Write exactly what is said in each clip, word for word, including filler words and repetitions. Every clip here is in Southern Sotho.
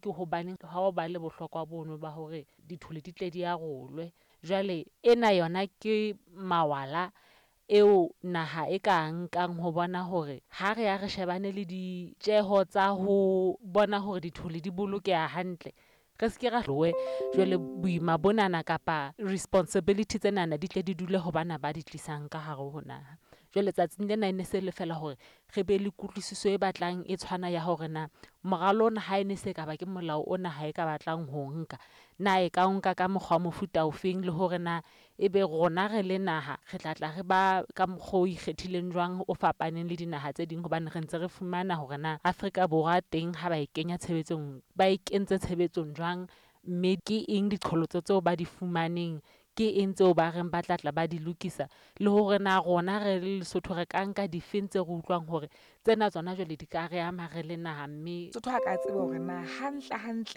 Ke hobaneng ha o ba le bohlokwa bono ba hore dithole di tle di arolwe. Jwale ena yona ke mawala eo naha e ka nkang ho bona hore ha re ya re shebane le ditjeho tsa ho bona hore dithole di bolokeha hantle, re ske ra . Jwale boima bonana kapa responsibility tsenana di tle di dule ho bana ba di tlisang ka hare ho naha. Jwale tsatsing lena e ne se le fela hore re be le kutlwisiso e batlang e tshwana ya hore na moralo ona ha e ne se ka ba ke molao ona ha e ka batlang ho nka. Na e ka o nka ka mokgwa wa mofuta ofeng, le hore na ebe rona re le naha, re tla tla re ba ka mokgwa o ikgethileng jwang, o fapaneng le dinaha tse ding. Hobane re ntse re fumana hore na Afrika Borwa teng ha ba e kenya tshebetsong, ba e kentse tshebetsong jwang. Mme ke eng diqholotso tseo ba di fumaneng, ke eng tseo ba reng ba tla tla ba di lokisa, le hore na rona re le Lesotho re ka nka difeng tse re utlwang hore tsena tsona jwale di ka re ama re le naha mme. Sotho a ka tseba hore na hantle hantle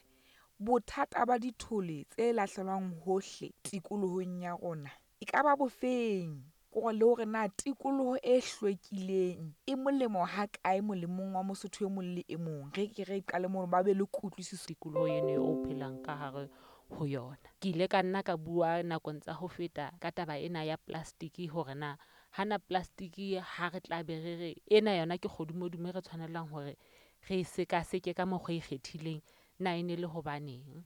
bothata ba dithole tse lahlelwang hohle tikolohong ya rona e ka ba bofeng? Kore le hore na tikoloho e hlwekileng e molemo ha kae molemong wa Mosotho e mong le e mong. Re ke re qale mono ba be le kutlwisiso. Tikoloho eno o phelang ka hare ho yona. Ke ile ka nna ka bua nakong tsa ho feta ka taba ena ya plastic hore na hana plastic ha re tla be re re ena yona ke kgodumodumo e re tshwanelang hore re e sekaseke ka mokgwa o ikgethileng. Na e ne le hobaneng?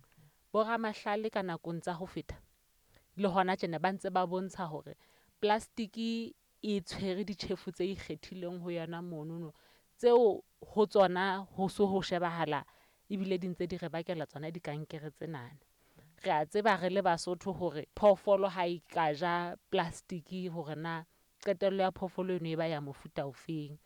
Boramahlale ka nakong tsa ho feta le hona tjena ba ntse ba bontsha hore plastic e tshwere ditjhefo tse ikgethileng ho yona monono, tseo ho tsona ho so ho shebahala ebile di ntse di re bakela tsona dikankere tsenana. Re a tseba re le Basotho hore phoofolo ha e ka ja plastic hore na qetello ya phoofolo eno e ba ya mofuta ofeng.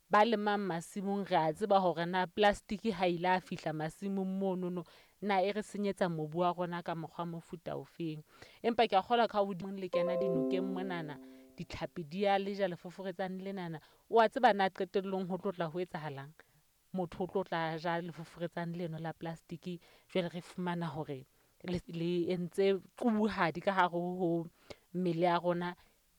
Ba lemang masimong, re a tseba hore na plastic ha ile a fihla masimong monono na e re senyetsa mobu wa rona ka mokgwa mofuta ofeng. Empa ke a kgolwa ka hodimo le kena dinokeng monana, ditlhapi di a le ja lefoforetsane lenana. Wa tseba na qetellong ho tlo tla ho etsahalang? Motho o tlo tla ja lefoforetsane leno la plastic. Jwale re fumana hore le le entse qubuhadi ka hare ho mmele ya rona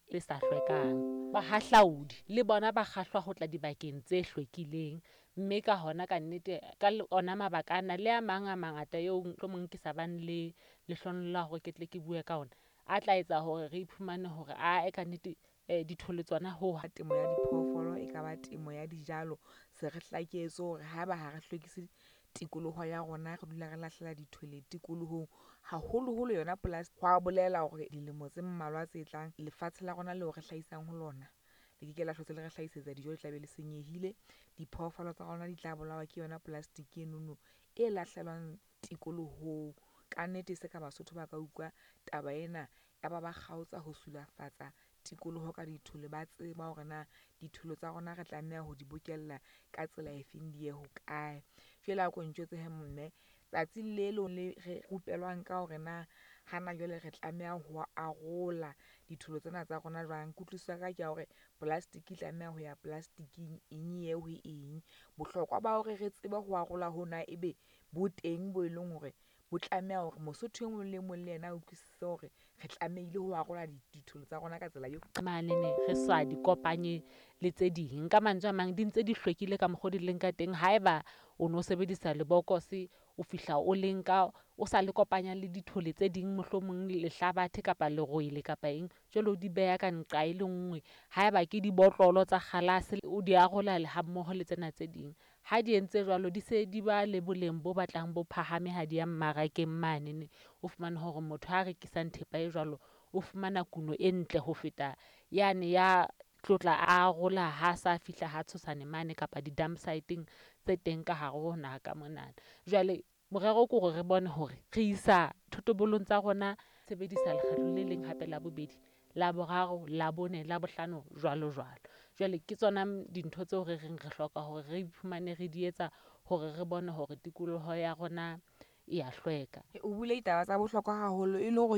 e sa hlwekang. Bahahlaodi le bona ba kgahlwa ho tla dibakeng tse hlwekileng. Mme ka hona ka nnete, ka ona mabaka ana le a mang a mangata eo mohlomong ke sa bang le lehlohonolo la hore ke tle ke bue ka ona. A tla etsa hore re iphumane hore ae ka nnete dithole tsona ho Temo ya diphoofolo e kaba temo ya dijalo, se re hlaketswe hore haeba ha re hlwekise tikoloho ya rona, re dula re lahlela dithole tikolohong, haholoholo yona polasi. Hwa bolela hore dilemo tse mmalwa tse tlang lefatshe la rona leo re hlahisang ho lona le ke ke la hlotse le re hlahisetsa dijo, le tla be le senyehile. Diphoofolo tsa rona di tla bolawa ke yona plastic enono e lahlelwang tikolohong. Ka nnete se ka Basotho ba ka utlwa taba ena, ya ba ba kgaotsa ho sulafatsa tikoloho ka dithole. Ba tseba hore na ditholo tsa rona re tlameha ho di bokella ka tsela e feng, di ye hokae. Jwale a ko ntjwetse he mme, tsatsing le leng le re rupelwang ka hore na hana jwale re tlameha ho arola ditholo tsena tsa rona jwang. Kutlwisiso ya ka ke ya hore plastic e tlameha ho ya plastic-ing, eng e ye ho eng. Bohlokwa ba hore re tsebe ho arola hona ebe bo teng bo e leng hore bo tlameha hore Mosotho e mong le mong le yena a utlwisise hore re tlamehile ho arola ditholo tsa rona ka tsela eo. Manene re sa di kopanye le tse ding. Ka mantswe a mang, di ntse di hlwekile ka mokgo di leng ka teng. Haeba o no sebedisa lebokose, o fihla o le nka o sa le kopanya le dithole tse ding, mohlomong lehlabathe kapa lerwele kapa eng. Jwale o di beha ka nqa e le nngwe. Haeba ke dibotlolo tsa kgalase, o di arola le ha mmoho le tsena tse ding. Ha di entse jwalo, di se di ba le boleng bo batlang bo phahame ha di ya mmarakeng manene. O fumane hore motho a rekisang thepa e jwalo, o fumana kuno e ntle ho feta yane ya tlotla arola ha sa fihla ha tshosane mane kapa di-dump site-eng tse teng ka hare ho naha ka mona. Jwale morero ke hore re bone hore re isa thotobolong tsa rona sebedisa lekgetlo le leng hape la bobedi, la boraro, la bone, la bohlano, jwalo jwalo. Jwale ke tsona dintho tseo re reng re hloka hore re iphumane re di etsa hore re bone hore tikoloho ya rona e ya hlweka. O buile ditaba tsa bohlokwa haholo e le hore